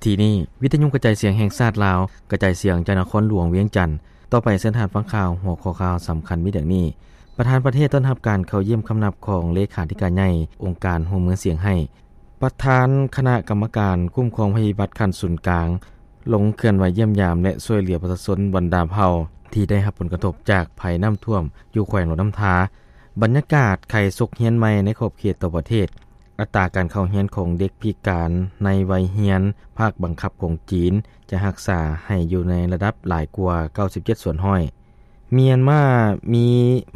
ທີ່ນີ້ ວິທະຍຸກະຈາຍສຽງແຫ່ງຊາດລາວ ກະຈາຍສຽງຈາກນະຄອນຫຼວງວຽງຈັນ. ຕໍ່ໄປເຊີນທ່ານຟັງຂ່າວ ຫົວຂໍ້ຂ່າວສຳຄັນມີດັ່ງນີ້: ປະທານປະເທດຕ້ອນຮັບການເຂົ້າຢ້ຽມຄຳນັບຂອງເລຂາທິການໃຫຍ່ອົງການຮ່ວມມືຊຽງໄຮ້. ປະທານຄະນະກຳມະການຄຸ້ມຄອງໄພພິບັດຂັ້ນສູນກາງ ລົງເຄື່ອນໄຫວຢ້ຽມຢາມ ແລະ ຊ່ວຍເຫຼືອປະຊາຊົນບັນດາເຜົ່າທີ່ໄດ້ຮັບຜົນກະທົບຈາກໄພນ້ຳຖ້ວມຢູ່ແຂວງຫຼວງນ້ຳທາ. ບັນຍາກາດໄຂສົກຮຽນໃໝ່ໃນຂອບເຂດທົ່ວປະເທດ. ອັດຕາການເຂົ້າຮຽນຂອງເດັກພິການໃນໄວຮຽນພາກບັງຄັບຂອງຈີນ ຈະຮັກສາໃຫ້ຢູ່ໃນລະດັບຫຼາຍກວ່າເກົ້າສິບເຈັດສ່ວນຮ້ອຍ. ມຽນມາມີ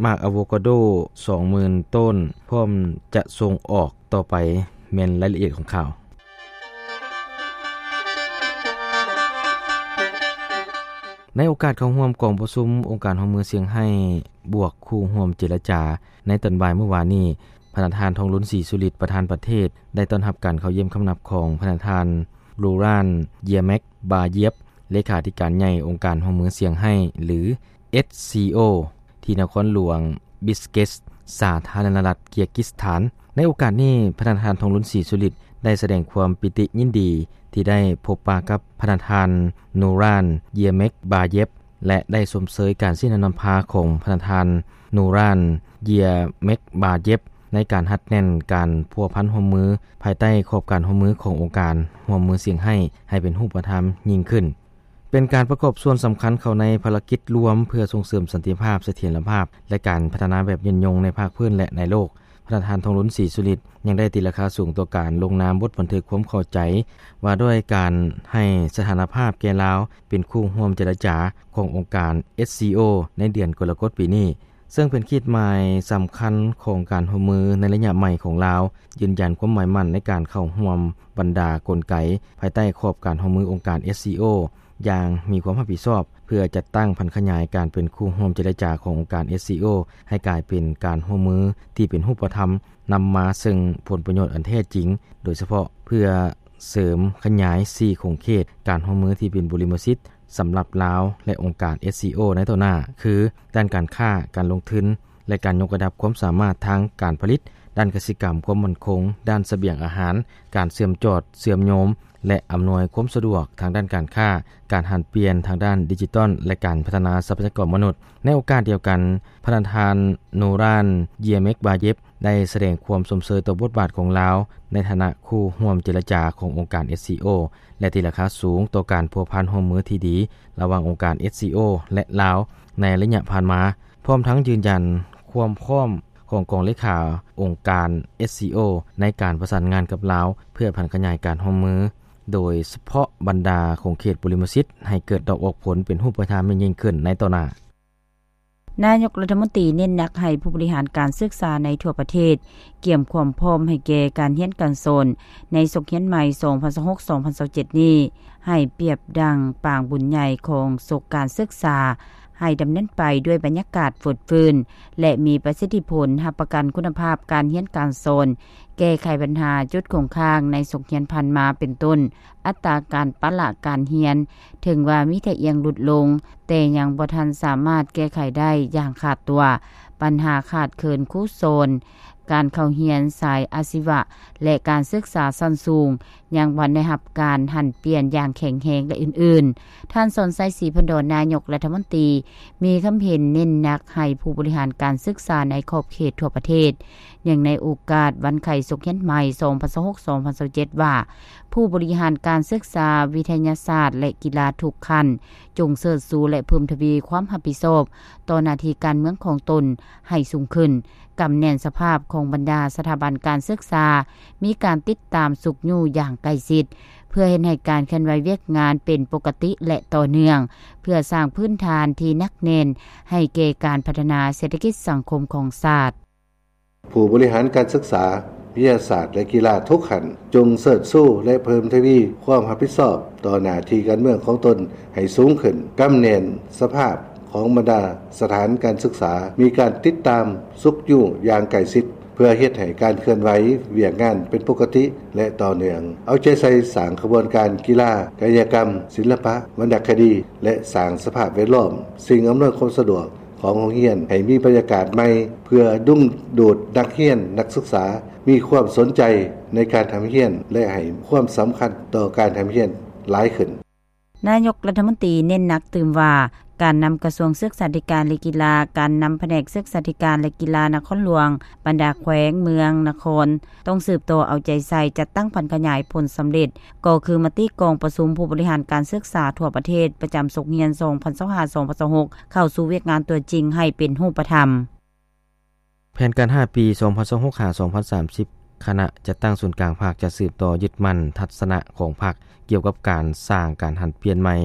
ໝາກອາໂວກາໂດສອງໝື່ນຕົ້ນ ພ້ອມຈະສົ່ງອອກ. ຕໍ່ໄປແມ່ນລາຍລະອຽດຂອງຂ່າວ. ໃນໂອກາດເຂົ້າຮ່ວມກອງປະຊຸມອົງການຮ່ວມມືຊຽງໄຮ້ບວກຄູ່ຮ່ວມເຈລະຈາໃນຕອນບ່າຍມື້ວານນີ້, ພະນະທ່ານ ທອງລຸນ ສີສຸລິດ ປະທານປະເທດ ໄດ້ຕ້ອນຮັບການເຂົ້າຢ້ຽມຄຳນັບຂອງພະນະທ່ານ ລູຣານ ເຢຍແມັກບາເຢບ ເລຂາທິການໃຫຍ່ອົງການຮ່ວມມືຊຽງໄຮ້ ຫຼື ເອັສຊີໂອ ທີ່ນະຄອນຫຼວງບິສເກສ ສາທາລະນະລັດເກີຍກິສຖານ. ໃນໂອກາດນີ້ ພະນະທ່ານ ທອງລຸນ ສີສຸລິດ ໄດ້ສະແດງຄວາມປີຕິຍິນດີທີ່ໄດ້ພົບປະກັບພະນະທ່ານ ນູຣານ ເຢຍແມັກບາເຢບ ແລະ ໄດ້ຊົມເຊີຍການຊີ້ນຳນຳພາຂອງພະນະທ່ານ ນູຣານ ເຢຍແມັກບາເຢບ ໃນການຮັດແໜ້ນການພົວພັນຮ່ວມມືພາຍໃຕ້ຂອບການຮ່ວມມືຂອງອົງການຮ່ວມມືຊຽງໄຮ້ ໃຫ້ເປັນຮູບປະທຳຍິ່ງຂຶ້ນ. ເປັນການປະກອບສ່ວນສຳຄັນເຂົ້າໃນພາລະກິດລວມເພື່ອສົ່ງເສີມສັນຕິພາບ, ສະຖຽນລະພາບ ແລະ ການພັດທະນາແບບຍືນຍົງໃນພາກພື້ນ ແລະ ໃນໂລກ. ພະນະທ່ານ ທອງລຸນ ສີສຸລິດ ຍັງໄດ້ຕີລາຄາສູງຕໍ່ການລົງນາມບົດບັນທຶກຄວາມເຂົ້າໃຈວ່າດ້ວຍການໃຫ້ສະຖານະພາບແກ່ລາວເປັນຄູ່ຮ່ວມເຈລະຈາຂອງອົງການ ເອັສຊີໂອ ໃນເດືອນກໍລະກົດປີນີ້, ເຊິ່ງເປັນຂີດໝາຍສຳຄັນຂອງການຮ່ວມມືໃນໄລຍະໃໝ່ຂອງລາວ, ຢືນຢັນຄວາມໝາຍໝັ້ນໃນການເຂົ້າຮ່ວມບັນດາກົນໄກພາຍໃຕ້ຂອບການຮ່ວມມືອົງການ ເອັສຊີໂອ ຢ່າງມີຄວາມຮັບຜິດຊອບ ເພື່ອຈັດຕັ້ງຜັນຂະຫຍາຍການເປັນຄູ່ຮ່ວມເຈລະຈາຂອງອົງການ ເອັສຊີໂອ ໃຫ້ກາຍເປັນການຮ່ວມມືທີ່ເປັນຮູບປະທຳ, ນຳມາເຊິ່ງຜົນປະໂຫຍດອັນແທ້ຈິງ, ໂດຍສະເພາະເພື່ອເສີມຂະຫຍາຍສີ່ຂົງເຂດການຮ່ວມມືທີ່ເປັນບຸລິມະສິດສຳລັບລາວ ແລະ ອົງການ ເອັສຊີໂອ ໃນຕໍ່ໜ້າ ຄື ດ້ານການຄ້າ, ການລົງທຶນ ແລະ ການຍົກລະດັບຄວາມສາມາດທາງການຜະລິດ, ດ້ານກະສິກຳ, ຄວາມໝັ້ນຄົງ, ດ້ານສະບຽງອາຫານ, ການເຊື່ອມຈອດເຊື່ອມໂຍມ ແລະ ອຳນວຍຄວາມສະດວກທາງດ້ານການຄ້າ, ການຫັນປ່ຽນທາງດ້ານດິຈິຕອນ ແລະ ການພັດທະນາຊັບພະຍາກອນມະນຸດ. ໃນໂອກາດດຽວກັນ, ພະນະທ່ານ ນູຣານ ເຢຍແມັກບາເຢບ ໄດ້ສະແດງຄວາມຊົມເຊີຍຕໍ່ບົດບາດຂອງລາວໃນຖານະຄູ່ຮ່ວມເຈລະຈາຂອງອົງການ ເອັສຊີໂອ ແລະ ຕີລາຄາສູງຕໍ່ການພົວພັນຮ່ວມມືທີ່ດີລະຫວ່າງອົງການ ເອັສຊີໂອ ແລະ ລາວ ໃນໄລຍະຜ່ານມາ, ພ້ອມທັງຢືນຢັນຄວາມພ້ອມຂອງກອງເລຂາອົງການ ເອັສຊີໂອ ໃນການປະສານງານກັບລາວ ເພື່ອຜັນຂະຫຍາຍການຮ່ວມມື, ໂດຍສະເພາະບັນດາຂົງເຂດບຸລິມະສິດ ໃຫ້ເກີດດອກອອກຜົນເປັນຮູບປະທຳໃຫ້ຍິ່ງຂຶ້ນໃນຕໍ່ໜ້າ. ນາຍົກລັດຖະມົນຕີເນັ້ນໜັກໃຫ້ຜູ້ບໍລິຫານການສຶກສາໃນທົ່ວປະເທດ ກຽມຄວາມພ້ອມໃຫ້ແກ່ການຮຽນການສອນໃນສົກຮຽນໃໝ່ ສອງພັນຊາວຫົກ ສອງພັນຊາວເຈັດ ນີ້ ໃຫ້ປຽບດັ່ງປາງບຸນໃຫຍ່ຂອງສົກການສຶກສາ ໃຫ້ດຳເນີນໄປດ້ວຍບັນຍາກາດຟົດຟື້ນ ແລະ ມີປະສິດທິຜົນ, ຮັບປະກັນຄຸນນະພາບການຮຽນການສອນ, ແກ້ໄຂບັນຫາຈຸດຄົງຄ້າງໃນສົກຮຽນຜ່ານມາ ເປັນຕົ້ນ ອັດຕາການປະລະການຮຽນ ເຖິງວ່າມີທ່າອ່ຽງຫຼຸດລົງ, ແຕ່ຍັງບໍ່ທັນສາມາດແກ້ໄຂໄດ້ຢ່າງຂາດຕົວ. ບັນຫາຂາດເຂີນຄູສອນ, ການເຂົ້າຮຽນສາຍອາຊີວະ ແລະ ການສຶກສາຊັ້ນສູງ ຍັງບໍ່ໄດ້ຮັບການຫັນປ່ຽນຢ່າງແຂງແຮງ ແລະ ອື່ນໆ. ທ່ານ ສອນໄຊ ສີພັນດອນ ນາຍົກລັດຖະມົນຕີ ມີຄຳເຫັນເນັ້ນໜັກໃຫ້ຜູ້ບໍລິຫານການສຶກສາໃນຂອບເຂດທົ່ວປະເທດ ເນື່ອງໃນໂອກາດວັນໄຂສົກຮຽນໃໝ່ ສອງພັນຊາວຫົກ ສອງພັນຊາວເຈັດ ວ່າ ຜູ້ບໍລິຫານການສຶກສາ, ວິທະຍາສາດ ແລະ ກິລາທຸກຂັ້ນ ຈົ່ງເສີດຊູ ແລະ ເພີ່ມທະວີຄວາມຮັບຜິດຊອບຕໍ່ໜ້າທີ່ການເມືອງຂອງຕົນໃຫ້ສູງຂຶ້ນ, ກຳແໜ້ນສະພາບຂອງບັນດາສະຖາບັນການສຶກສາ ມີການຕິດຕາມຊຸກຍູ້ຢ່າງໃກ້ຊິດ ເພື່ອເຮັດໃຫ້ການເຄື່ອນໄຫວວຽກງານເປັນປົກກະຕິ ແລະ ຕໍ່ເນື່ອງ, ເພື່ອສ້າງພື້ນຖານທີ່ໜັກແໜ້ນໃຫ້ແກ່ການພັດທະນາເສດຖະກິດສັງຄົມຂອງຊາດ. ຜູ້ບໍລິຫານການສຶກສາ, ວິທະຍາສາດ ແລະ ກິລາທຸກຂັ້ນ ຈົ່ງເສີດຊູ ແລະ ເພີ່ມທະວີຄວາມຮັບຜິດຊອບຕໍ່ໜ້າທີ່ການເມືອງຂອງຕົນໃຫ້ສູງຂຶ້ນ, ກຳແໜ້ນສະພາບຂອງບັນດາສະຖານການສຶກສາ, ມີການຕິດຕາມຊຸກຍູ້ຢ່າງໃກ້ຊິດ ເພື່ອເຮັດໃຫ້ການເຄື່ອນໄຫວວຽກງານເປັນປົກກະຕິ ແລະ ຕໍ່ເນື່ອງ. ເອົາໃຈໃສ່ສ້າງຂະບວນການກິລາ, ກາຍະກຳ, ສິລະປະ, ວັນນະຄະດີ ແລະ ສ້າງສະພາບແວດລ້ອມ, ສິ່ງອຳນວຍຄວາມສະດວກ ຂອງໂຮງຮຽນໃຫ້ມີບັນຍາກາດໃໝ່ ເພື່ອດຶງດູດນັກຮຽນ, ນັກສຶກສາມີຄວາມສົນໃຈໃນການຮ່ຳຮຽນ ແລະ ໃຫ້ຄວາມສຳຄັນຕໍ່ການຮ່ຳຮຽນ ຫຼາຍຂຶ້ນ. ນາຍົກລັດຖະມົນຕີເນັ້ນໜັກຕື່ມວ່າ ການນຳກະຊວງສຶກສາທິການ ແລະ ກິລາ, ການນຳພະແນກສຶກສາທິການ ແລະ ກິລານະຄອນຫຼວງ, ບັນດາແຂວງ, ເມືອງ, ນະຄອນ ຕ້ອງສືບຕໍ່ເອົາໃຈໃສ່ ຈັດຕັ້ງຜັນຂະຫຍາຍຜົນສຳເລັດ ກໍຄືມະຕິກອງປະຊຸມຜູ້ບໍລິຫານການສຶກສາທົ່ວປະເທດ ປະຈຳສົກຮຽນ ສອງພັນຊາວຫ້າ ສອງພັນຊາວຫົກ ເຂົ້າສູ່ວຽກງານຕົວຈິງໃຫ້ເປັນຮູບປະທຳ. ແຜນການຫ້າປີ ສອງພັນຊາວຫົກ ຫາ ສອງພັນສາມສິບ ຄະນະຈັດຕັ້ງສູນກາງພັກ ຈະສືບຕໍ່ຍຶດໝັ້ນທັດສະນະຂອງພັກ ກ່ຽວກັບການສ້າງການຫັນປ່ຽນໃໝ່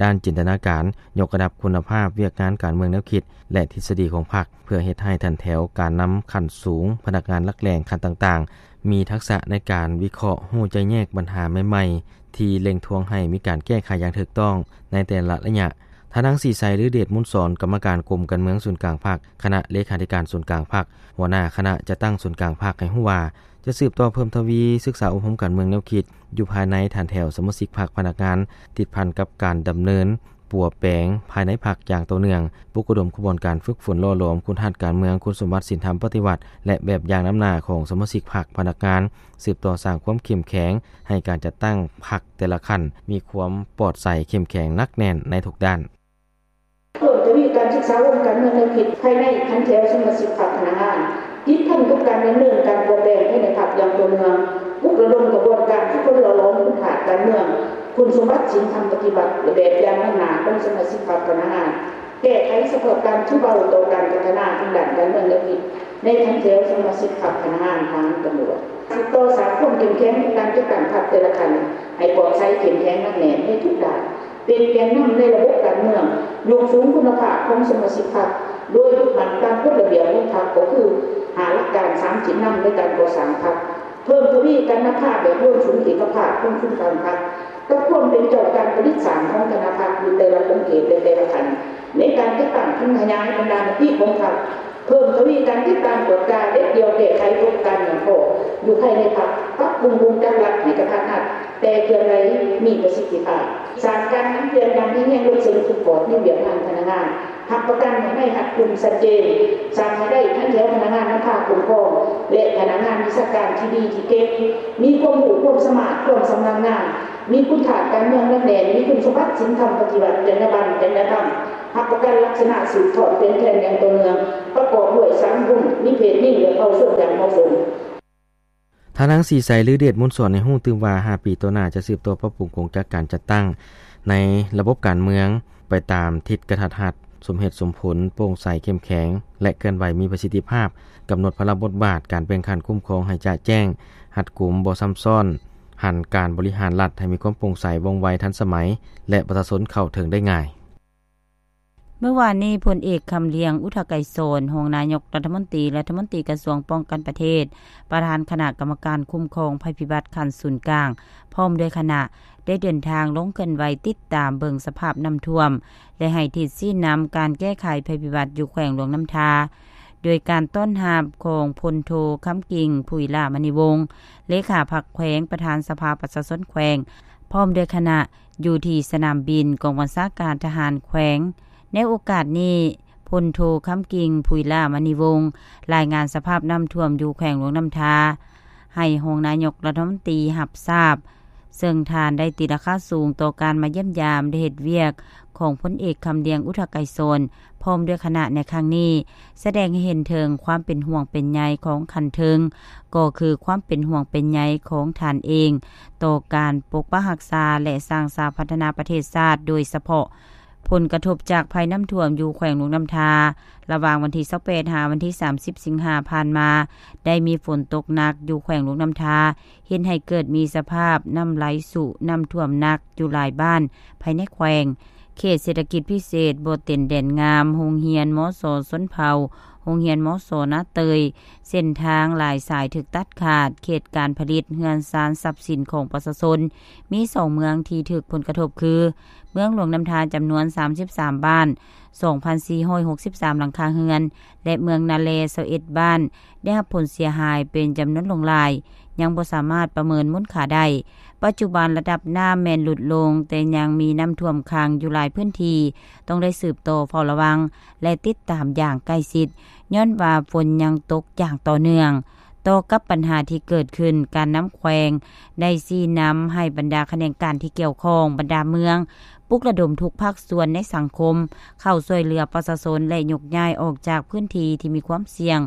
ດ້ານຈິນຕະນາການ, ຍົກລະດັບຄຸນນະພາບວຽກງານການເມືອງແນວຄິດ ແລະ ທິດສະດີຂອງພັກ ເພື່ອເຮັດໃຫ້ຖັນແຖວການນຳຂັ້ນສູງ, ພະນັກງານຫຼັກແຫຼ່ງຂັ້ນຕ່າງໆ ມີທັກສະໃນການວິເຄາະ, ຮູ້ແຈ້ງແຍກບັນຫາໃໝ່ໆ ທີ່ເລັ່ງທວງໃຫ້ມີການແກ້ໄຂຢ່າງຖືກຕ້ອງໃນແຕ່ລະໄລຍະ. ທ່ານນາງ ສີໄຊ ລືເດດມູນສອນ ກຳມະການກົມການເມືອງສູນກາງພັກ, ຄະນະເລຂາທິການສູນກາງພັກ, ຫົວໜ້າຄະນະຈັດຕັ້ງສູນກາງພັກ ໃຫ້ຮູ້ວ່າ ຈະສືບຕໍ່ເພີ່ມທະວີສຶກສາອົບຮົມການເມືອງແນວຄິດ ຢູ່ພາຍໃນຖານແຖວສະມາຊິກພັກ, ພະນັກງານ, ຕິດພັນກັບການດຳເນີນປົວແປງພາຍໃນພັກຢ່າງຕໍ່ເນື່ອງ, ປຸກລະດົມຂະບວນການຝຶກຝົນຫຼໍ່ຫຼອມຄຸນຮັດການເມືອງ, ຄຸນສົມບັດສິນທຳປະຕິວັດ ແລະ ແບບຢ່າງນຳໜ້າຂອງສະມາຊິກພັກ, ພະນັກງານ, ສືບຕໍ່ສ້າງຄວາມເຂັ້ມແຂງໃຫ້ການຈັດຕັ້ງພັກແຕ່ລະຂັ້ນ ມີຄວາມປອດໃສ, ເຂັ້ມແຂງ, ໜັກແໜ້ນໃນທຸກດ້ານ. ເພີ່ມທະວີການສຶກສາອົບຮົມການເມືອງແນວຄິດພາຍໃນຖັນແຖວສະມາຊິກພັກ, ພະນັກງານ, ຕິດພັນກັບການດຳເນີນການປົວແປງພາຍໃນພັກຢ່າງຕໍ່ເນື່ອງ, ປຸກລະດົມຂະບວນການຝຶກຝົນຫຼໍ່ຫຼອມຄຸນທາດການເມືອງ, ຄຸນສົມບັດສິນທຳປະຕິວັດ ແລະ ແບບຢ່າງນຳໜ້າຂອງສະມາຊິກພັກ, ພະນັກງານ, ແກ້ໄຂສະພາບການຖືເບົາຕໍ່ການພັດທະນາທາງດ້ານການເມືອງແນວຄິດໃນຖັນແຖວສະມາຊິກພັກ, ພະນັກງານ, ທະຫານ, ຕຳຫຼວດ. ສືບຕໍ່ສ້າງຄວາມເຂັ້ມແຂງໃນການຈັດຕັ້ງພັກແຕ່ລະຂັ້ນໃຫ້ປອດໃສ, ເຂັ້ມແຂງ, ໜັກແໜ້ນໃນທຸກດ້ານ. ເປັນແກນນຳໃນລະບົບການເມືອງ, ຍົກສູງຄຸນນະພາບຂອງສະມາຊິກພັກ ໂດຍຍຶດໝັ້ນຕາມກົດລະບຽບຂອງພັກ ກໍຄືຫ້າຫຼັກການ, ສາມຈິດນຳໃນການກໍ່ສ້າງພັກ, ເພີ່ມທະວີການນຳພາແບບລວມສູນເອກະພາບຂອງສູນກາງພັກ ກັບຄວາມເປັນເຈົ້າການຜະລິດສ້າງຂອງຄະນະພັກຢູ່ແຕ່ລະຂົງເຂດ ແລະ ແຕ່ລະຂັ້ນ ໃນການຈັດຕັ້ງຜັນຂະຫຍາຍບັນດາມະຕິຂອງພັກ, ເພີ່ມທະວີການຕິດຕາມກວດກາເດັດດ່ຽວແກ້ໄຂຕົກການຫຍ່ອງຂໍ້ຢູ່ພາຍໃນພັກ, ປັບປຸງວົງຈັກລັດໃຫ້ກະທັດຮັດ ແຕ່ເຄື່ອນໄຫວມີປະສິດທິພາບ, ສ້າງການຫັນປ່ຽນຢ່າງແຮງແຮງລົງເຊິ່ງທຸກພາກໃນວຽກງານພະນັກງານ, ຮັບປະກັນໃຫ້ໄດ້ຮັດກຸ່ມຊັດເຈນ, ສ້າງໃຫ້ໄດ້ທັງແຖວພະນັກງານນຳພາຄຸ້ມຄອງ ແລະ ພະນັກງານວິຊາການທີ່ດີທີ່ເກັ່ງ, ມີຄວາມຮູ້ຄວາມສາມາດ, ຄວາມຊຳນານງານ, ມີຄຸນທາດການເມືອງໜັກແໜ້ນ, ມີຄຸນສົມບັດສິນທຳປະຕິວັດ, ຈັນຍາບັນ, ຈັນຍາທຳ, ຮັບປະກັນລັກສະນະສືບທອດເປັນແຜ່ນຢ່າງຕໍ່ເນື່ອງ, ປະກອບດ້ວຍສາມກຸ່ມ, ມີເພດຍິງ ແລະ ເຜົ່າຊົນຢ່າງເໝາະສົມ. ທ່ານນາງ ສີໄຊ ລືເດດມູນສອນ ໃຫ້ຮູ້ຕື່ມວ່າ ຫ້າປີຕໍ່ໜ້າຈະສືບຕໍ່ປັບປຸງກົງຈັກການຈັດຕັ້ງໃນລະບົບການເມືອງໄປຕາມທິດກະທັດຮັດ, ສົມເຫດສົມຜົນ, ໂປ່ງໃສ, ເຂັ້ມແຂງ ແລະ ເຄື່ອນໄຫວມີປະສິດທິພາບ, ກຳນົດພາລະບົດບາດການແບ່ງຂັ້ນຄຸ້ມຄອງໃຫ້ຈະແຈ້ງ, ຮັດກຸມ, ບໍ່ຊ້ຳຊ້ອນ, ຫັນການບໍລິຫານລັດໃຫ້ມີຄວາມໂປ່ງໃສ, ວ່ອງໄວ, ທັນສະໄໝ ແລະ ປະຊາຊົນເຂົ້າເຖິງໄດ້ງ່າຍ. ເມື່ອວານນີ້, ພົນເອກ ຄຳລຽງ ອຸທະໄກສອນ ຮອງນາຍົກລັດຖະມົນຕີ, ລັດຖະມົນຕີກະຊວງປ້ອງກັນປະເທດ, ປະທານຄະນະກຳມະການຄຸ້ມຄອງໄພພິບັດຂັ້ນສູນກາງ ພ້ອມດ້ວຍຄະນະ ໄດ້ເດີນທາງລົງເຄື່ອນໄຫວຕິດຕາມເບິ່ງສະພາບນ້ຳຖ້ວມ ແລະ ໃຫ້ທິດຊີ້ນຳການແກ້ໄຂໄພພິບັດຢູ່ແຂວງຫຼວງນ້ຳທາ, ໂດຍການຕ້ອນຮັບຂອງພົນໂທ ຄຳກິ່ງ ຜຸຍຫຼ້າມະນີວົງ ເລຂາພັກແຂວງ, ປະທານສະພາປະຊາຊົນແຂວງ ພ້ອມດ້ວຍຄະນະ ຢູ່ທີ່ສະໜາມບິນກອງບັນຊາການທະຫານແຂວງ. ໃນໂອກາດນີ້, ພົນໂທ ຄຳກິ່ງ ຜຸຍຫຼ້າມະນີວົງ ລາຍງານສະພາບນ້ຳຖ້ວມຢູ່ແຂວງຫຼວງນ້ຳທາ ໃຫ້ຮອງນາຍົກລັດຖະມົນຕີຮັບຊາບ, ເຊິ່ງທ່ານໄດ້ຕີລາຄາສູງຕໍ່ການມາຢ້ຽມຢາມ ແລະ ເຮັດວຽກຂອງພົນເອກ ຄຳລຽງ ອຸທະໄກສອນ ພ້ອມດ້ວຍຄະນະໃນຄັ້ງນີ້ ສະແດງໃຫ້ເຫັນເຖິງຄວາມເປັນຫ່ວງເປັນໃຍຂອງຂັ້ນເທິງ, ກໍຄືຄວາມເປັນຫ່ວງເປັນໃຍຂອງທ່ານເອງ ຕໍ່ການປົກປັກຮັກສາ ແລະ ສ້າງສາພັດທະນາປະເທດຊາດ, ໂດຍສະເພາະຜົນກະທົບຈາກໄພນ້ຳຖ້ວມຢູ່ແຂວງຫຼວງນ້ຳທາ ລະຫວ່າງວັນທີຊາວແປດ ຫາວັນທີສາມສິບ ສິງຫາຜ່ານມາ ໄດ້ມີຝົນຕົກໜັກຢູ່ແຂວງຫຼວງນ້ຳທາ, ເຮັດໃຫ້ເກີດມີສະພາບນ້ຳໄຫຼຊຸ, ນ້ຳຖ້ວມໜັກຢູ່ຫຼາຍບ້ານພາຍໃນແຂວງ. ເຂດເສດຖະກິດພິເສດບໍ່ເຕັນແດນງາມ, ໂຮງຮຽນ ມສ ຊົນເຜົ່າ, ໂຮງຮຽນ ມສ ນາເຕີຍ, ເສັ້ນທາງຫຼາຍສາຍຖືກຕັດຂາດ, ເຂດການຜະລິດ, ເຮືອນຊານ, ຊັບສິນຂອງປະຊາຊົນ. ມີສອງເມືອງທີ່ຖືກຜົນກະທົບຄື ເມືອງຫຼວງນ້ຳທາ ຈຳນວນສາມສິບສາມບ້ານ, ສອງພັນສີ່ຮ້ອຍຫົກສິບສາມຫຼັງຄາເຮືອນ ແລະ ເມືອງນາແລ ຊາວເອັດບ້ານ ໄດ້ຮັບຜົນເສຍຫາຍເປັນຈຳນວນຫຼວງຫຼາຍ, ຍັງບໍ່ສາມາດປະເມີນມູນຄ່າໄດ້. ປັດຈຸບັນລະດັບນ້ຳແມ່ນຫຼຸດລົງ, ແຕ່ຍັງມີນ້ຳຖ້ວມຂັງຢູ່ຫຼາຍພື້ນທີ່, ຕ້ອງໄດ້ສືບຕໍ່ເຝົ້າລະວັງ ແລະ ຕິດຕາມຢ່າງໃກ້ຊິດ, ຍ້ອນວ່າຝົນຍັງຕົກຢ່າງຕໍ່ເນື່ອງ. ຕໍ່ກັບບັນຫາທີ່ເກີດຂຶ້ນ, ການນຳແຂວງໄດ້ຊີ້ນຳໃຫ້ບັນດາຂະແໜງການທີ່ກ່ຽວຂ້ອງ, ບັນດາເມືອງ, ປຸກລະດົມທຸກພາກສ່ວນໃນສັງຄົມເຂົ້າຊ່ວຍເຫຼືອປະຊາຊົນ ແລະ ຍົກຍ້າຍອອກຈາກພື້ນທີ່ທີ່ມີຄວາມສ່ຽງ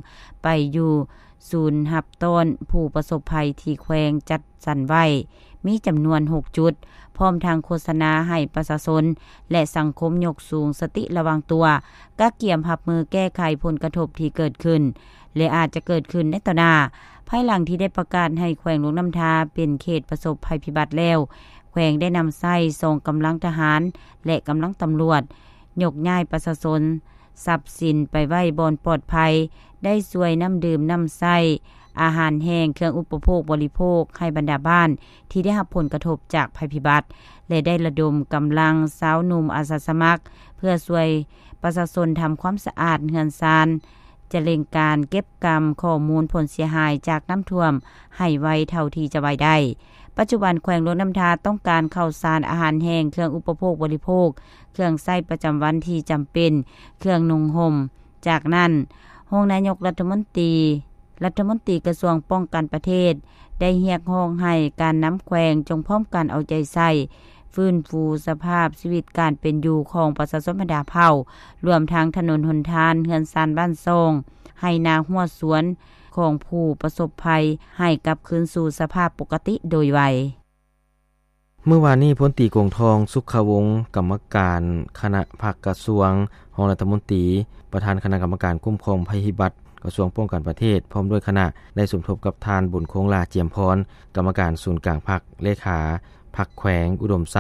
ໄປຢູ່ສູນຮັບຕ້ອນຜູ້ປະສົບໄພທີ່ແຂວງຈັດສັນໄວ້ ມີຈຳນວນຫົກຈຸດ, ພ້ອມທັງໂຄສະນາໃຫ້ປະຊາຊົນ ແລະ ສັງຄົມຍົກສູງສະຕິລະວັງຕົວ, ກະກຽມຮັບມືແກ້ໄຂຜົນກະທົບທີ່ເກີດຂຶ້ນ ແລະ ອາດຈະເກີດຂຶ້ນໃນຕໍ່ໜ້າ. ພາຍຫຼັງທີ່ໄດ້ປະກາດໃຫ້ແຂວງຫຼວງນ້ຳທາເປັນເຂດປະສົບໄພພິບັດແລ້ວ, ແຂວງໄດ້ນຳໃຊ້ສອງກຳລັງທະຫານ ແລະ ກຳລັງຕຳຫຼວດ ຍົກຍ້າຍປະຊາຊົນ ຊັບສິນໄປໄວ້ບ່ອນປອດໄພ, ໄດ້ຊ່ວຍນ້ຳດື່ມ, ນ້ຳໃຊ້, ອາຫານແຫ້ງ, ເຄື່ອງອຸປະໂພກບໍລິໂພກໃຫ້ບັນດາບ້ານທີ່ໄດ້ຮັບຜົນກະທົບຈາກໄພພິບັດ ແລະ ໄດ້ລະດົມກຳລັງຊາວໜຸ່ມອາສາສະໝັກ ເພື່ອຊ່ວຍປະຊາຊົນທຳຄວາມສະອາດເຮືອນຊານ, ຈະເລັ່ງການເກັບກຳຂໍ້ມູນຜົນເສຍຫາຍຈາກນ້ຳຖ້ວມໃຫ້ໄວເທົ່າທີ່ຈະໄວໄດ້. ປັດຈຸບັນແຂວງຫຼວງນ້ຳທາຕ້ອງການເຂົ້າສານ, ອາຫານແຫ້ງ, ເຄື່ອງອຸປະໂພກບໍລິໂພກ, ເຄື່ອງໃຊ້ປະຈຳວັນທີ່ຈຳເປັນ, ເຄື່ອງນຸ່ງຫົ່ມ. ຈາກນັ້ນ, ຮອງນາຍົກລັດຖະມົນຕີ, ລັດຖະມົນຕີກະຊວງປ້ອງກັນປະເທດ ໄດ້ຮຽກຮ້ອງໃຫ້ການນຳແຂວງຈົ່ງພ້ອມກັນເອົາໃຈໃສ່ຟື້ນຟູສະພາບຊີວິດການເປັນຢູ່ຂອງປະຊາຊົນບັນດາເຜົ່າ, ລວມທັງຖະໜົນຫົນທາງ, ເຮືອນຊານບ້ານຊ່ອງ, ໄຮ່ນາຮົ້ວສວນຂອງຜູ້ປະສົບໄພ ໃຫ້ກັບຄືນສູ່ສະພາບປົກກະຕິໂດຍໄວ. ມື້ວານນີ້, ພົນຕີ ກົງທອງ ສຸກຂະວົງ ກຳມະການຄະນະພັກກະຊວງ, ຮອງລັດຖະມົນຕີ, ປະທານຄະນະກຳມະການຄຸ້ມຄອງໄພພິບັດ ກະຊວງປ້ອງກັນປະເທດ ພ້ອມດ້ວຍຄະນະ ໄດ້ສົມທົບກັບທ່ານ ບຸນຄົງຫຼ້າ ຈຽມພອນ ກຳມະການສູນກາງພັກ, ເລຂາພັກແຂວງອຸດົມໄຊ,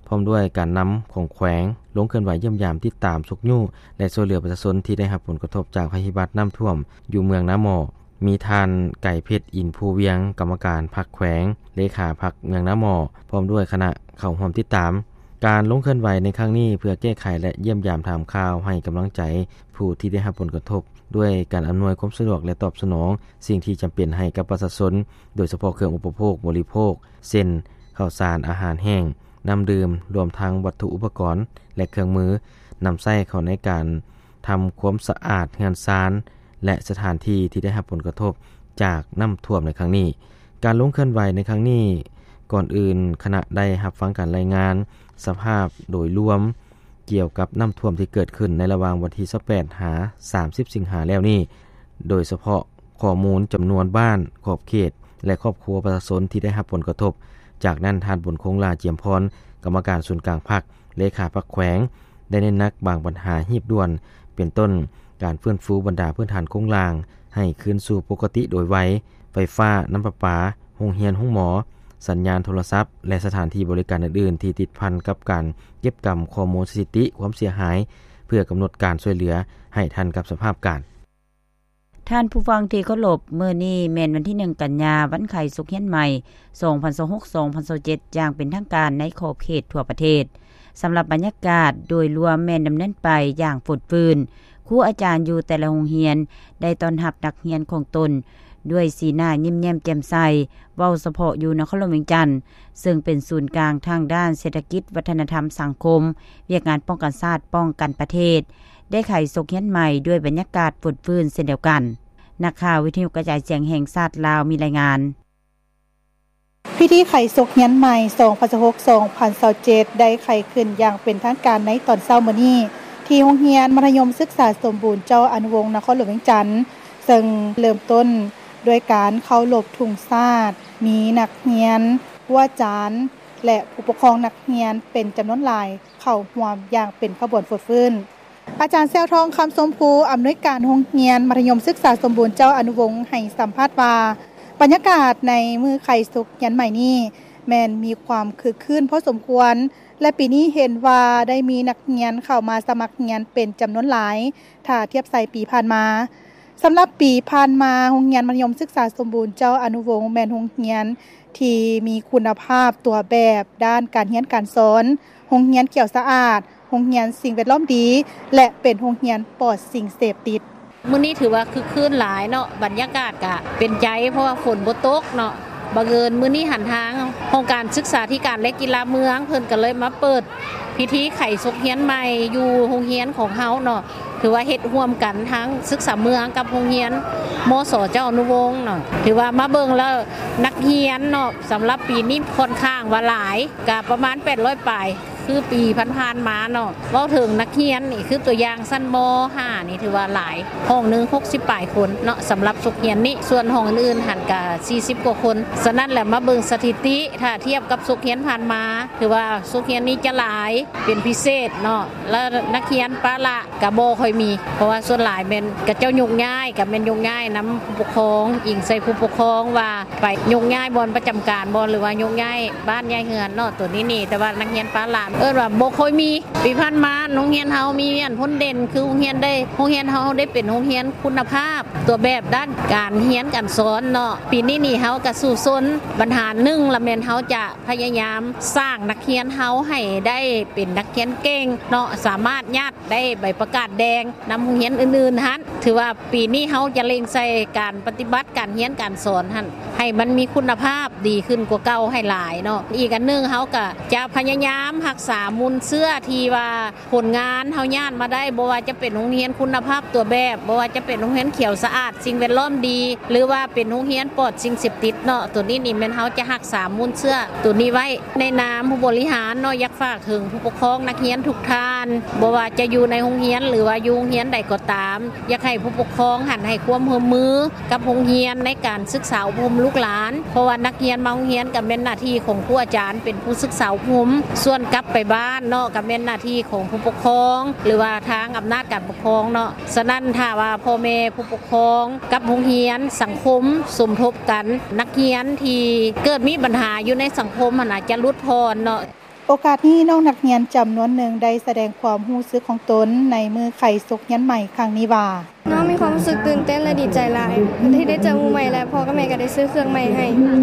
ພ້ອມດ້ວຍການນຳຂອງແຂວງ ລົງເຄື່ອນໄຫວຢ້ຽມຢາມ, ຕິດຕາມ, ຊຸກຍູ້ ແລະ ຊ່ວຍເຫຼືອປະຊາຊົນທີ່ໄດ້ຮັບຜົນກະທົບຈາກໄພພິບັດນ້ຳຖ້ວມຢູ່ເມືອງນາໝໍ້. ມີທ່ານ ໄກເພັດ ອິນພູວຽງ ກຳມະການພັກແຂວງ, ເລຂາພັກເມືອງນາໝໍ້ ພ້ອມດ້ວຍຄະນະເຂົ້າຮ່ວມຕິດຕາມ. ການລົງເຄື່ອນໄຫວໃນຄັ້ງນີ້ ເພື່ອແກ້ໄຂ ແລະ ຢ້ຽມຢາມຖາມຂ່າວ, ໃຫ້ກຳລັງໃຈຜູ້ທີ່ໄດ້ຮັບຜົນກະທົບ ດ້ວຍການອຳນວຍຄວາມສະດວກ ແລະ ຕອບສະໜອງສິ່ງທີ່ຈຳເປັນໃຫ້ກັບປະຊາຊົນ, ໂດຍສະເພາະເຄື່ອງອຸປະໂພກບໍລິໂພກ ເຊັ່ນ ເຂົ້າສານ, ອາຫານແຫ້ງ, ນ້ຳດື່ມ, ລວມທັງວັດຖຸອຸປະກອນ ແລະ ເຄື່ອງມືນຳໃຊ້ເຂົ້າໃນການ ທຳຄວາມສະອາດເຮືອນຊານ ແລະ ສະຖານທີ່ທີ່ໄດ້ຮັບຜົນກະທົບຈາກນ້ຳຖ້ວມໃນຄັ້ງນີ້. ການລົງເຄື່ອນໄຫວໃນຄັ້ງນີ້, ກ່ອນອື່ນຄະນະໄດ້ຮັບຟັງການລາຍງານສະພາບໂດຍລວມກ່ຽວກັບນ້ຳຖ້ວມທີ່ເກີດຂຶ້ນໃນລະຫວ່າງວັນທີຊາວແປດ ຫາ ສາມສິບ ສິງຫາແລ້ວນີ້, ໂດຍສະເພາະຂໍ້ມູນຈຳນວນບ້ານ, ຂອບເຂດ ແລະ ຄອບຄົວປະຊາຊົນທີ່ໄດ້ຮັບຜົນກະທົບ. ຈາກນັ້ນ, ທ່ານ ບຸນຄົງ ຫຼ້າຈຽມພອນ ກຳມະການສູນກາງພັກ, ເລຂາພັກແຂວງ ໄດ້ເນັ້ນໜັກບາງບັນຫາຮີບດ່ວນ ເປັນຕົ້ນ ການຟື້ນຟູບັນດາພື້ນຖານໂຄງລ່າງໃຫ້ຄືນສູ່ປົກກະຕິໂດຍໄວ, ໄຟຟ້າ, ນ້ຳປະປາ, ໂຮງຮຽນ, ໂຮງໝໍ, ສັນຍານໂທລະສັບ ແລະ ສະຖານທີ່ບໍລິການອື່ນໆ ທີ່ຕິດພັນກັບການເກັບກຳຂໍ້ມູນສະຖິຕິຄວາມເສຍຫາຍ ເພື່ອກຳນົດການຊ່ວຍເຫຼືອໃຫ້ທັນກັບສະພາບການ. ທ່ານຜູ້ຟັງທີ່ເຄົາລົບ, ມື້ນີ້ແມ່ນວັນທີໜຶ່ງ ກັນຍາ, ວັນໄຂສົກຮຽນໃໝ່ ສອງພັນຊາວຫົກ ສອງພັນຊາວເຈັດ ຢ່າງເປັນທາງການໃນຂອບເຂດທົ່ວປະເທດ. ສຳລັບບັນຍາກາດໂດຍລວມແມ່ນດຳເນີນໄປຢ່າງຟົດຟື້ນ. ຄູອາຈານຢູ່ແຕ່ລະໂຮງຮຽນໄດ້ຕ້ອນຮັບນັກຮຽນຂອງຕົນດ້ວຍສີໜ້າຍິ້ມແຍ້ມແຈ່ມໃສ, ເວົ້າສະເພາະຢູ່ນະຄອນຫຼວງວຽງຈັນ, ເຊິ່ງເປັນສູນກາງທາງດ້ານເສດຖະກິດ, ວັດທະນະທຳ, ສັງຄົມ, ວຽກງານປ້ອງກັນຊາດ, ປ້ອງກັນປະເທດ, ໄດ້ໄຂສົກຮຽນໃໝ່ດ້ວຍບັນຍາກາດຟົດຟື້ນເຊັ່ນດຽວກັນ. ນັກຂ່າວວິທະຍຸກະຈາຍສຽງແຫ່ງຊາດລາວມີລາຍງານ. ພິທີໄຂສົກຮຽນໃໝ່ ສອງພັນຊາວຫົກ ສອງພັນຊາວເຈັດ ໄດ້ໄຂຂຶ້ນຢ່າງເປັນທາງການໃນຕອນເຊົ້າມື້ນີ້ ທີ່ໂຮງຮຽນມັດທະຍົມສຶກສາສົມບູນເຈົ້າອະນຸວົງ ນະຄອນຫຼວງວຽງຈັນ, ເຊິ່ງເລີ່ມຕົ້ນດ້ວຍການເຄົາລົບທຸງຊາດ, ມີນັກຮຽນ, ຄູອາຈານ ແລະ ຜູ້ປົກຄອງນັກຮຽນເປັນຈຳນວນຫຼາຍເຂົ້າຮ່ວມຢ່າງເປັນຂະບວນຟົດຟື້ນ. ອາຈານ ແຊວທອງ ຄຳຊົມພູ ອຳນວຍການໂຮງຮຽນມັດທະຍົມສຶກສາສົມບູນເຈົ້າອະນຸວົງ ໃຫ້ສຳພາດວ່າ ບັນຍາກາດໃນມື້ໄຂສົກຮຽນໃໝ່ນີ້ ແມ່ນມີຄວາມຄຶກຄື້ນພໍສົມຄວນ ແລະ ປີນີ້ເຫັນວ່າໄດ້ມີນັກຮຽນເຂົ້າມາສະໝັກຮຽນເປັນຈຳນວນຫຼາຍ ຖ້າທຽບໃສ່ປີຜ່ານມາ. ສຳລັບປີຜ່ານມາ, ໂຮງຮຽນມັດທະຍົມສຶກສາສົມບູນເຈົ້າອະນຸວົງ ແມ່ນໂຮງຮຽນທີ່ມີຄຸນນະພາບຕົວແບບດ້ານການຮຽນການສອນ, ໂຮງຮຽນຂຽວສະອາດ, ໂຮງຮຽນສິ່ງແວດລ້ອມດີ ແລະ ເປັນໂຮງຮຽນປອດສິ່ງເສບຕິດ. ມື້ນີ້ຖືວ່າຄຶກຄື້ນຫຼາຍເນາະ, ບັນຍາກາດກະເປັນໃຈ ເພາະວ່າຝົນບໍ່ຕົກເນາະ, ບັງເອີນມື້ນີ້ຫັ້ນ ທາງຫ້ອງການສຶກສາທິການ ແລະ ກິລາເມືອງ ເພິ່ນກໍເລີຍມາເປີດພິທີໄຂສົກຮຽນໃໝ່ຢູ່ໂຮງຮຽນຂອງເຮົາເນາະ. ຖືວ່າເຮັດຮ່ວມກັນທັງສຶກສາເມືອງກັບໂຮງຮຽນ ມສ ເຈົ້າອະນຸວົງເນາະ. ຖືວ່າມາເບິ່ງແລ້ວ ນັກຮຽນເນາະ ສຳລັບປີນີ້ຂ້ອນຂ້າງວ່າຫຼາຍ ກະປະມານແປດຮ້ອຍປາຍ ຄືປີຜ່ານໆມາເນາະ. ເວົ້າເຖິງນັກຮຽນນີ້ ຄືຕົວຢ່າງຊັ້ນ ມ.ຫ້າ ນີ້ຖືວ່າຫຼາຍ ຫ້ອງໜຶ່ງຫົກສິບປາຍຄົນເນາະ ສຳລັບສົກຮຽນນີ້. ສ່ວນຫ້ອງອື່ນໆຫັ້ນກະສີ່ສິບກວ່າຄົນ. ສະນັ້ນແຫຼະ ມາເບິ່ງສະຖິຕິ ຖ້າທຽບກັບສົກຮຽນຜ່ານມາ ຖືວ່າສົກຮຽນນີ້ຈະຫຼາຍເປັນພິເສດເນາະ ແລະ ນັກຮຽນປະລະກະບໍ່ຄ່ອຍມີ ເພາະວ່າສ່ວນຫຼາຍແມ່ນເຂົາເຈົ້າຍົກຍ້າຍ ກະແມ່ນຍົກຍ້າຍນຳຜູ້ປົກຄອງ ອີງໃສ່ຜູ້ປົກຄອງວ່າ ໄປຍົກຍ້າຍບ່ອນປະຈຳການບໍ່ ຫຼືວ່າຍົກຍ້າຍບ້ານຍ້າຍເຮືອນເນາະ ໂຕນີ້ນີ້. ແຕ່ວ່ານັກຮຽນປະລະ ເອີ້ນວ່າບໍ່ຄ່ອຍມີ. ປີຜ່ານມາໂຮງຮຽນເຮົາມີອັນພົ້ນເດັ່ນ ຄືໂຮງຮຽນໄດ້ ໂຮງຮຽນເຮົາໄດ້ເປັນໂຮງຮຽນຄຸນນະພາບ ຕົວແບບດ້ານການຮຽນການສອນເນາະ. ປີນີ້ນີ້ເຮົາກະສູ້ຊົນ ບັນຫາໜຶ່ງລະແມ່ນເຮົາຈະພະຍາຍາມສ້າງນັກຮຽນເຮົາໃຫ້ໄດ້ເປັນນັກຮຽນເກັ່ງເນາະ ສາມາດຍາດໄດ້ໃບປະກາດແດງນຳໂຮງຮຽນອື່ນໆຫັ້ນ. ຖືວ່າ ປີນີ້ເຮົາຈະເລັ່ງໃສ່ການປະຕິບັດການຮຽນການສອນຫັ້ນ ໃຫ້ມັນມີຄຸນນະພາບດີຂຶ້ນກວ່າເກົ່າໃຫ້ຫຼາຍເນາະ. ອີກອັນໜຶ່ງ ເຮົາກະຈະພະຍາຍາມຮັກສາມູນເຊື້ອທີ່ວ່າຜົນງານເຮົາຍາດມາໄດ້ ບໍ່ວ່າຈະເປັນໂຮງຮຽນຄຸນນະພາບຕົວແບບ ບໍ່ວ່າຈະເປັນໂຮງຮຽນຂຽວສະອາດ ສິ່ງແວດລ້ອມດີ ຫຼືວ່າເປັນໂຮງຮຽນປອດສິ່ງເສບຕິດເນາະ. ໂຕນີ້ນີ້ແມ່ນເຮົາຈະຮັກສາມູນເຊື້ອໂຕນີ້ໄວ້. ໃນນາມຜູ້ບໍລິຫານເນາະ ຢາກຝາກເຖິງຜູ້ປົກຄອງນັກຮຽນທຸກທ່ານ ບໍ່ວ່າຈະຢູ່ໃນໂຮງຮຽນ ຫຼືວ່າຢູ່ໂຮງຮຽນໃດກໍຕາມ ຢາກໃຫ້ຜູ້ປົກຄອງຫັ້ນໃຫ້ຄວາມຮ່ວມມືກັບໂຮງຮຽນໃນການສຶກສາອົບຮົມລູກຫຼານ ເພາະວ່ານັກຮຽນມາໂຮງຮຽນກໍແມ່ນໜ້າທີ່ຂອງຄູອາຈານເປັນຜູ້ສຶກສາອົບຮົມ ສ່ວນກັບໄປບ້ານເນາະ ກໍແມ່ນໜ້າທີ່ຂອງຜູ້ປົກຄອງ ຫຼືວ່າທາງອຳນາດການປົກຄອງເນາະ. ສະນັ້ນ ຖ້າວ່າພໍ່ແມ່ຜູ້ປົກຄອງກັບໂຮງຮຽນ ສັງຄົມສົມທົບກັນ ນັກຮຽນທີ່ເກີດມີບັນຫາຢູ່ໃນສັງຄົມຫັ້ນນະ ຈະຫຼຸດຜ່ອນເນາະ. ໂອກາດນີ້ ນ້ອງນັກຮຽນຈຳນວນໜຶ່ງໄດ້ສະແດງຄວາມຮູ້ສຶກຂອງຕົນໃນມື້ໄຂສົກຮຽນໃໝ່ຄັ້ງນີ້ວ່າ: ນ້ອງມີຄວາມຮູ້ສຶກຕື່ນເຕັ້ນ ແລະ ດີໃຈຫຼາຍ ທີ່ໄດ້ເຈີໝູ່ໃໝ່ ແລະ ພໍ່ກັບແມ່ກໍໄດ້ຊື້ເຄື່ອງໃໝ່ໃຫ້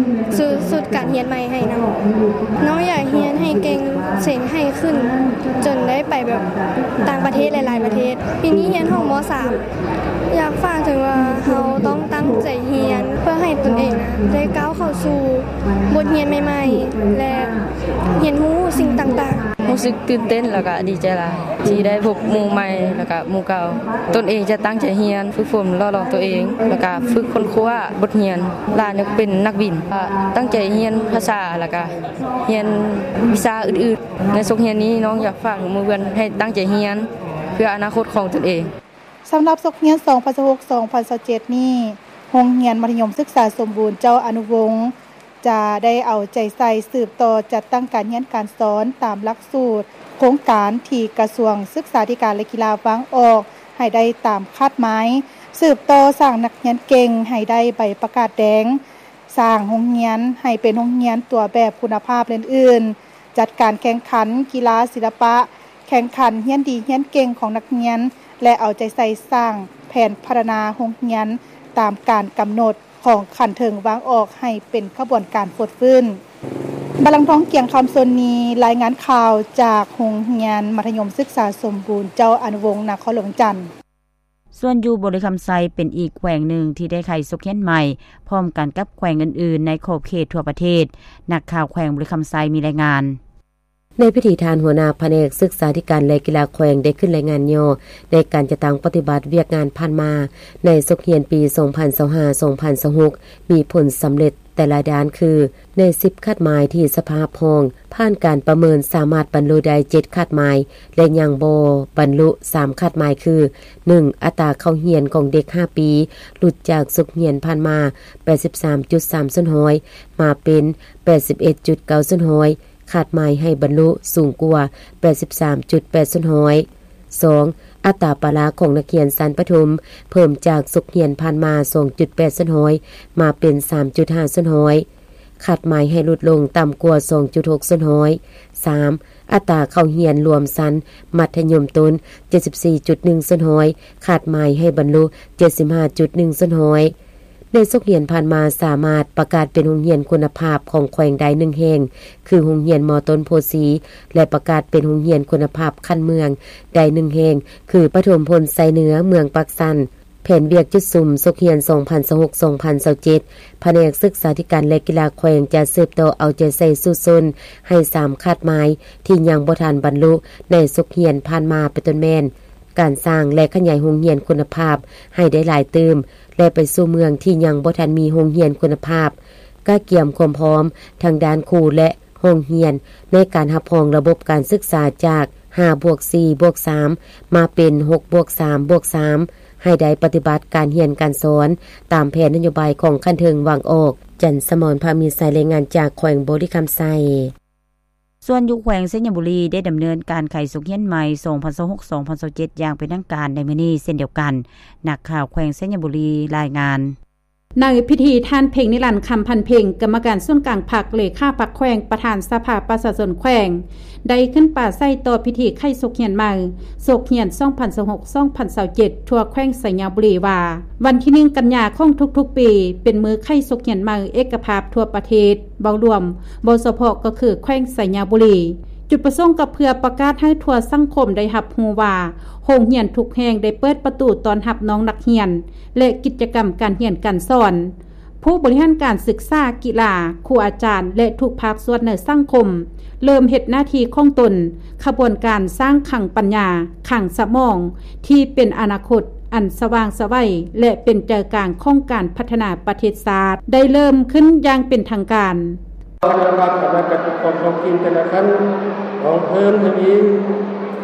ຊື້ຊຸດການຮຽນໃໝ່ໃຫ້ນຳ. ນ້ອງຢາກຮຽນໃຫ້ເກັ່ງເສັງໃຫ້ຂຶ້ນ ຈົນໄດ້ໄປແບບຕ່າງປະເທດຫຼາຍໆປະເທດ. ປີນີ້ຮຽນຫ້ອງ ມ.ສາມ ຢາກຝາກເຖິງວ່າ ເຮົາຕ້ອງຕັ້ງໃຈຮຽນ ເພື່ອໃຫ້ຕົນເອງນະໄດ້ກ້າວເຂົ້າສູ່ບົດຮຽນໃໝ່ໆ ແລະ ຮຽນຮູ້ສິ່ງຕ່າງໆ. ຮູ້ສຶກຕື່ນເຕັ້ນ ແລ້ວກະດີໃຈຫຼາຍ ທີ່ໄດ້ພົບໝູ່ໃໝ່ ແລ້ວກະໝູ່ເກົ່າ. ຕົນເອງຈະຕັ້ງໃຈຮຽນ ຝຶກຝົນຫຼໍ່ຫຼອມຕົວເອງ ແລ້ວກະຝຶກຄົ້ນຄວ້າບົດຮຽນ. ຫຼານຢາກເປັນນັກບິນ ກະຕັ້ງໃຈຮຽນພາສາ ແລ້ວກະຮຽນວິຊາອື່ນໆ. ໃນສົກຮຽນນີ້ ນ້ອງຢາກຝາກເຖິງໝູ່ເພື່ອນໃຫ້ຕັ້ງໃຈຮຽນ ເພື່ອອະນາຄົດຂອງຕົນເອງ. ສຳລັບສົກຮຽນ ສອງພັນຊາວຫົກ ສອງພັນຊາວເຈັດນີ້ ໂຮງຮຽນມັດທະຍົມສຶກສາສົມບູນເຈົ້າອະນຸວົງ ຈະໄດ້ເອົາໃຈໃສ່ສືບຕໍ່ຈັດຕັ້ງການຮຽນການສອນຕາມຫຼັກສູດໂຄງການທີ່ກະຊວງສຶກສາທິການ ແລະ ກິລາວາງອອກໃຫ້ໄດ້ຕາມຄາດໝາຍ, ສືບຕໍ່ສ້າງນັກຮຽນເກັ່ງໃຫ້ໄດ້ໃບປະກາດແດງ, ສ້າງໂຮງຮຽນໃຫ້ເປັນໂຮງຮຽນຕົວແບບຄຸນນະພາບ ແລະ ອື່ນໆ. ຈັດການແຂ່ງຂັນກິລາສິລະປະ, ແຂ່ງຂັນຮຽນດີຮຽນເກັ່ງຂອງນັກຮຽນ ແລະ ເອົາໃຈໃສ່ສ້າງແຜນພັດທະນາໂຮງຮຽນຕາມການກຳນົດຂອງຂັ້ນເທິງວາງອອກໃຫ້ເປັນຂະບວນການຟົດຟື້ນ. ບາລັງທອງ ກຽງຄຳ ຊົນນີ ລາຍງານຂ່າວຈາກໂຮງຮຽນມັດທະຍົມສຶກສາສົມບູນເຈົ້າອະນຸວົງ ນະຄອນຫຼວງວຽງຈັນ. ສ່ວນຢູ່ບໍລິຄຳໄຊເປັນອີກແຂວງໜຶ່ງທີ່ໄດ້ໄຂສົກຮຽນໃໝ່ ພ້ອມກັນກັບແຂວງອື່ນໆໃນຂອບເຂດທົ່ວປະເທດ. ນັກຂ່າວແຂວງບໍລິຄຳໄຊມີລາຍງານ. ໃນພິທີ ທ່ານຫົວໜ້າພະແນກສຶກສາທິການ ແລະ ກິລາແຂວງໄດ້ຂຶ້ນລາຍງານຫຍໍ້ໃນການຈັດຕັ້ງປະຕິບັດວຽກງານຜ່ານມາໃນສົກຮຽນປີ ສອງພັນຊາວຫ້າ ສອງພັນຊາວຫົກ ມີຜົນສຳເລັດແຕ່ລະດ້ານຄື ໃນສິບຄາດໝາຍທີ່ສະພາຮັບຮອງ ຜ່ານການປະເມີນສາມາດບັນລຸໄດ້ເຈັດຄາດໝາຍ ແລະ ຍັງບໍ່ບັນລຸສາມຄາດໝາຍຄື ໜຶ່ງ ອັດຕາເຂົ້າຮຽນຂອງເດັກຫ້າປີ ຫຼຸດຈາກສົກຮຽນຜ່ານມາ ແປດສິບສາມຈຸດສາມສ່ວນຮ້ອຍ ມາເປັນ ແປດສິບເອັດຈຸດເກົ້າສ່ວນຮ້ອຍ ຄາດໝາຍໃຫ້ບັນລຸສູງກວ່າ ແປດສິບສາມຈຸດແປດສ່ວນຮ້ອຍ. ສອງ ອັດຕາປາລະຂອງນັກຮຽນຊັ້ນປະຖົມ ເພີ່ມຈາກສົກຮຽນຜ່ານມາ ສອງຈຸດແປດສ່ວນຮ້ອຍ ມາເປັນ ສາມຈຸດຫ້າສ່ວນຮ້ອຍ ຄາດໝາຍໃຫ້ຫຼຸດລົງຕ່ຳກວ່າ ສອງຈຸດຫົກສ່ວນຮ້ອຍ. ສາມ ອັດຕາເຂົ້າຮຽນລວມຊັ້ນມັດທະຍົມຕົ້ນ ເຈັດສິບສີ່ຈຸດໜຶ່ງສ່ວນຮ້ອຍ ຄາດໝາຍໃຫ້ບັນລຸ ເຈັດສິບຫ້າຈຸດໜຶ່ງສ່ວນຮ້ອຍ. ໃນສົກຮຽນຜ່ານມາ ສາມາດປະກາດເປັນໂຮງຮຽນຄຸນນະພາບຂອງແຂວງໄດ້ໜຶ່ງແຫ່ງ ຄືໂຮງຮຽນ ມ.ຕົ້ນໂພສີ ແລະ ປະກາດເປັນໂຮງຮຽນຄຸນນະພາບຂັ້ນເມືອງໄດ້ໜຶ່ງແຫ່ງ ຄືປະຖົມພົນໄຊເໜືອ ເມືອງປາກຊັນ. ແຜນວຽກຈຸດສຸມສົກຮຽນສອງພັນຊາວຫົກ ສອງພັນຊາວເຈັດ ພະແນກສຶກສາທິການ ແລະ ກິລາແຂວງ ຈະສືບຕໍ່ເອົາໃຈໃສ່ສູ້ຊົນໃຫ້ສາມຄາດໝາຍທີ່ຍັງບໍ່ທັນບັນລຸໃນສົກຮຽນຜ່ານມາ ເປັນຕົ້ນແມ່ນ ການສ້າງ ແລະ ຂະຫຍາຍໂຮງຮຽນຄຸນນະພາບໃຫ້ໄດ້ຫຼາຍຕື່ມ ແລະ ໄປສູ່ເມືອງທີ່ຍັງບໍ່ທັນມີໂຮງຮຽນຄຸນນະພາບ, ກະກຽມຄວາມພ້ອມທາງດ້ານຄູ ແລະ ໂຮງຮຽນໃນການຮັບຮອງລະບົບການສຶກສາຈາກຫ້າບວກສີ່ບວກສາມ ມາເປັນຫົກບວກສາມບວກສາມ ໃຫ້ໄດ້ປະຕິບັດການຮຽນການສອນຕາມແຜນນະໂຍບາຍຂອງຂັ້ນເທິງວາງອອກ. ຈັນສະໝອນ ພາມີໄຊ ລາຍງານຈາກແຂວງບໍລິຄຳໄຊ. ສ່ວນຢູ່ແຂວງໄຊຍະບູລີ ໄດ້ດຳເນີນການໄຂສົກຮຽນໃໝ່ ສອງພັນຊາວຫົກ ສອງພັນຊາວເຈັດ ຢ່າງເປັນທາງການໃນມື້ນີ້ເຊັ່ນດຽວກັນ. ນັກຂ່າວແຂວງໄຊຍະບູລີລາຍງານ. ໃນພິທີ ທ່ານ ເພັງນິລັນ ຄຳພັນເພັງ ກຳມະການສູນກາງພັກ ເລຂາພັກແຂວງ ປະທານສະພາປະຊາຊົນແຂວງ ໄດ້ຂຶ້ນປາໄສຕໍ່ພິທີໄຂສົກຮຽນໃໝ່ ສົກຮຽນສອງພັນຊາວຫົກ ສອງພັນຊາວເຈັດ ທົ່ວແຂວງໄຊຍະບູລີວ່າ ວັນທີໜຶ່ງ ກັນຍາຂອງທຸກໆປີ ເປັນມື້ໄຂສົກຮຽນໃໝ່ເອກະພາບທົ່ວປະເທດ ເວົ້າລວມ, ເວົ້າສະເພາະກໍຄືແຂວງໄຊຍະບູລີ. ຈຸດປະສົງກໍເພື່ອປະກາດໃຫ້ທົ່ວສັງຄົມໄດ້ຮັບຮູ້ວ່າ ໂຮງຮຽນທຸກແຫ່ງໄດ້ເປີດປະຕູຕ້ອນຮັບນ້ອງນັກຮຽນ ແລະ ກິດຈະກຳການຮຽນການສອນ. ຜູ້ບໍລິຫານການສຶກສາ, ກິລາ, ຄູອາຈານ ແລະ ທຸກພາກສ່ວນໃນສັງຄົມ ເລີ່ມເຮັດໜ້າທີ່ຂອງຕົນ. ຂະບວນການສ້າງຄັງປັນຍາ, ຄັງສະໝອງ ທີ່ເປັນອະນາຄົດອັນສະຫວ່າງໄສໄຫວ ແລະ ເປັນໃຈກາງຂອງການພັດທະນາປະເທດຊາດ ໄດ້ເລີ່ມຂຶ້ນຢ່າງເປັນທາງການ. ຄະນະກຳມະການຈັດຕັ້ງການປົກຄອງທ້ອງຖິ່ນແຕ່ລະຂັ້ນ ຕ້ອງເພີ່ມທະວີ